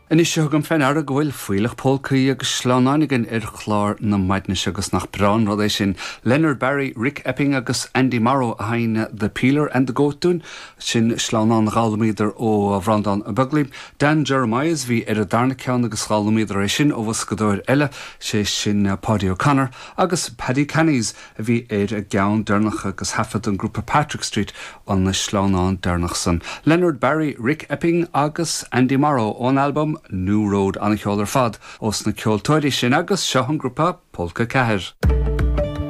Anois tugaim fé ndeara go bhfuil fuílleach pólcaí agus sleamhnáin againn ar chlár na maidne seo agus nach breá an rud é sin. Leonard Barry, Rick Epping agus Andy Morrow a sheinn The Peeler and the Goat dúinn. Sin sleamhnán a dh'fhoghlaimíodar ó Bhreandán Ó Beaglaoich. Dan Jeremias bhí ar an darna ceann agus dh'fhoghlaimíodar é sin ó bhoscadóir eile, sé sin Paudie O'Connor agus Paddy Cannies a bhí ar an gceann deireanach agus thaifead an grúpa Patrick Street an sleamhnán deireanach san. Leonard Barry, Rick Epping agus Andy Morrow ón albam New Road. An-cheol ar fad ós na ceoltóirí sin agus seo an grúpa Pólca 4.